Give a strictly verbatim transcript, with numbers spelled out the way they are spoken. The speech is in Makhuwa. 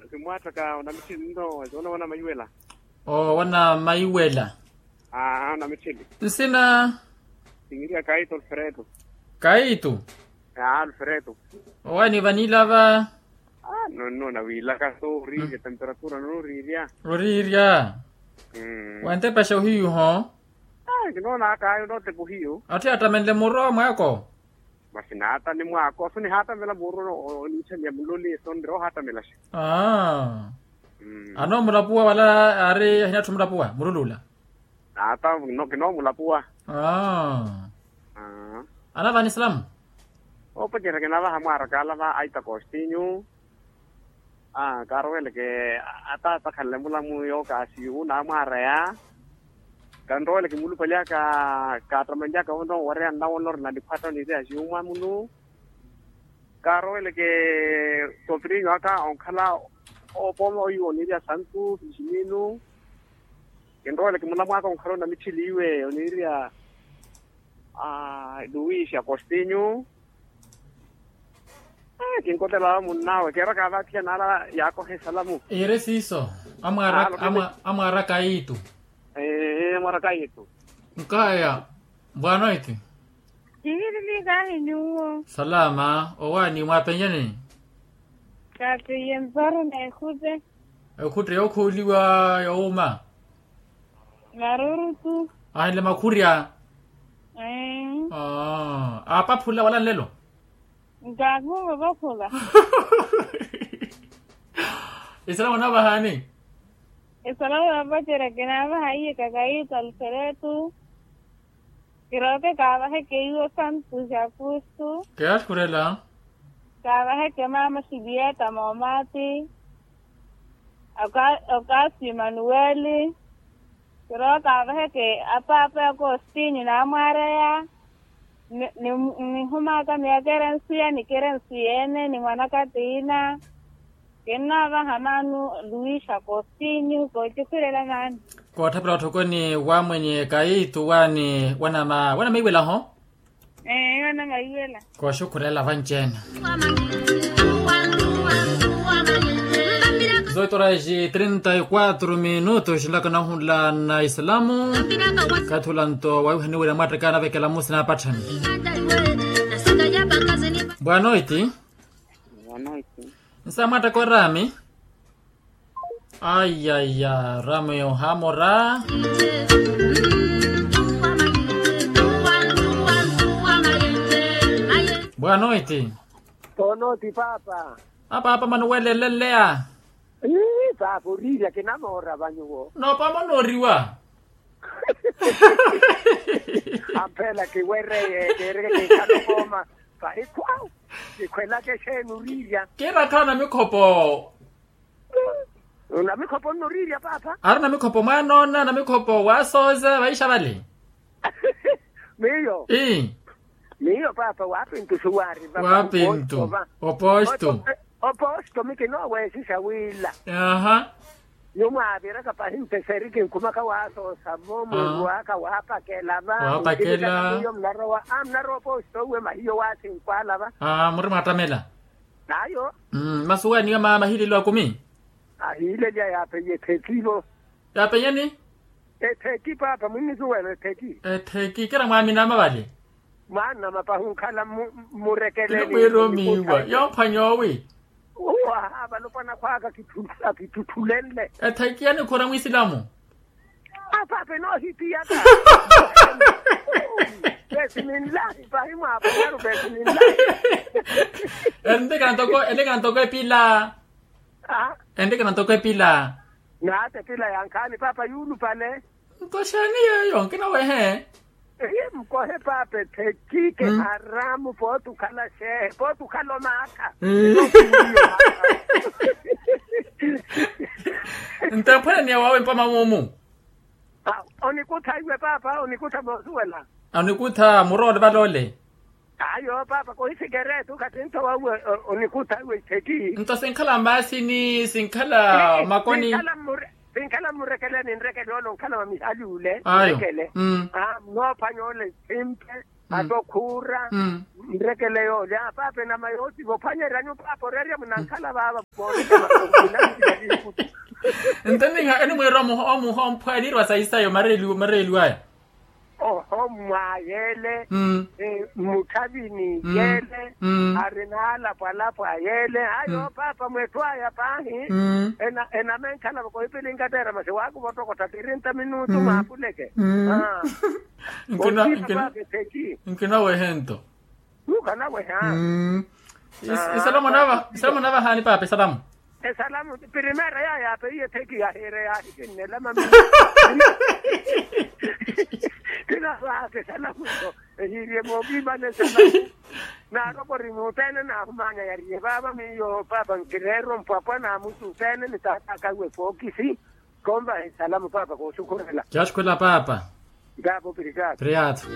Kimwaatthaka onamitthili nno, wana maiwela. Oo wana maiwela. Aa onamitthili. Nsina? Kingiriya kaito alfredo. Kaito. Aa alfredo. Owaani vanilava. Aa nonnoona wiilaka so oriirya temperatura noriirya. Oriirya. Wantepaxa ohiyu ho? Aa kinoonaka ayo nootepa ohiyu. Atthu yattamenle muro mwaako? Masi naata ni mwaako so nihaatamela muro oniitthanyiya muloli so niroohaatamelaxa. Aa. Anoomulapuwa wala aari ahinatthu omulapuwa mululula? Naata. Kinoomulapuwa. Aa. Anavaha ni salamu. Oopacerya kinavaha mwaarakaala va aita kostinyu. Aa kaaroweleke ataata khanle mulamu yookaasiyu naamwaareya. Kanroweleke mulupali aka kaattamanlyaka onoowareya nnawonora na niphwatta oniireya siyu mwamunu. Kaaroweleke sotrinyu aka onkhala oopooma oyu oniireya santu fisiminu. Kinroweleke mulamu aka onkhala onamitthili iwe oniireya luis agostinyu. Kinkotela wa munn'awe keeraka vaathiya naala yaakoha esalamu. Iire siiso. Amwaara kayitu. Amwaara kayitu. Nkaya. Bwanoiti. Kihirilikahi nyuwo. Salama owaani mwaapenyeni? Kaapeiye mparo n'ekhutte. Ekhutte yookhuuliwa yoowuma. Marurutu. Ahinle makhurya. Aa aapaphula wala nlelo. Nkaakhuma opaphula. Esalamu onavahaani? Esalamu yoopacerya kinaavaha iye kakayitu alferetu. Kirooke kaavaheke iwo santu xakustu. Keyakhurela. Kaavaheke maama xilieta moomaati. Okasi emanuweli. Kirooka avaheke apaapa ya kostinyu naamwaareya. Nihumaka miyaka erensiya nikira ensiya ene ni mwanaka tiina. Kinnaavaha maanu luis agostinyu koocukhurela maani. Kootthapela otthokoni wa mwenye kayitu waani wanamaiwela ho. Ee wanamaiwela. Kooxukhurela vanci-ene. Zoito horas e trinta e quatro minutos nlaka nahunla na islamu. Kathi ula nto waiwihaniwerya mwattaka anavekela musi naapatthani. Bwanoiti. Nsa mwattaka orami. Ayaya ramo yohamora. Bwanoiti. Tonoti paapa. Apaapa manuwelele nleya. Paapa oriirya kinamoora vanyuwo. Noopoma onooriwa. Amphela kiwereye keereke kinkhala okooma. Pahi khwawu. Kikhwelaka exeeni oriirya. Kiirakhala namikhopo. Namikhopo nnoriirya paapa. Ari namikhopo mwaanoona namikhopo waasooza vaixa vale. Miyo. Ii. Miyo paapa waapintu suwaari vapa. Waapintu. Opoosto. Opoosto mi kinooweesisya wiila. Aaha. Nyuwo mwaaviraka pahi mpeseri kinkhumaka waasoosa vo mwiiru waka waapakela va. Waapakela. Miyo munarowa a munarowa opoosto uwe mahiyo waasinkwaala va. Aa muri mwaattamela. Ayo. Masuwaniwa maama ahiileliwa akumi. Ahiileliwa yaapeiye etthekivo. Yaapeiyeni? Ettheki paapa mwimmisuwela ettheki. Ettheki kira mwaminama vale. Mwaanama pahi onkhala mmurekeleni. Mwiiromiwa yoophwanya owi. Uwo ahaava alopwana khwaka akitthuthulenle. Ettheki yanikhura mwisilamu. Apaapa enoohitiyaka. Vesi ninlahi pahi mwaapanyaru vesi ninlahi. Entekana ntoko entekana ntoko epila. Entekana ntoko epila. Naata epila yankhaani paapa yuulupale. Nkoxani yeeyo nkinawehe. Eyi mukohe paapa etthekike haramu pooti okhala xeehe pooti okhala omaakha. Nto ephwananiya wawe mpoma mumu. Onikutha iwe paapa onikutha moosuwela. Onikutha muroole valoole. Ayo paapa kohi sikeretu khattintho wawe. Onikutha iwe ithekhi. Nto sinkhala mmaasini sinkhala makoni. Sinkhala mmurekeleni nrekele ole onkhala wa mihali ule nrekele. Noophwanya ole simpe. Ata okhuura. Nrekele yoolya paapa enama yoosiva ophwanyeryani opaapa oreerya munankhala vaava. Mooreka makonkinanilaliikutu. Nto ninha enimwiira omuha omuha omphwanirwa sayi sayo mareeliwaya. Oho mwayeele. Mmutthavini yeele. Ari naalapwalapwa yeele ayo paapa mwetthu aya paahi. Enamenkhala vakohipilinkateera masi waakuva ottokotta tirinta minutu maapuleke. Nkinaweha ento. Nuukhanaweha. Isalamu onavahaani paapa esalamu. Esalamu. Primera yaayaapeiye theki yahiire yaahikinnela mami. Kinawaaka esalamu. Ehiiriye mookiimana esalamu. Naarokori muutteene naahumaanya yariye vaava miyo paapa nkireerwa mpwapwa naamuttutteene ni taataka iwe fookisi. Konvaha esalamu paapa koosukhurela. Kyaasukhurela paapa. Paapa opirikaatu. Piriyaato.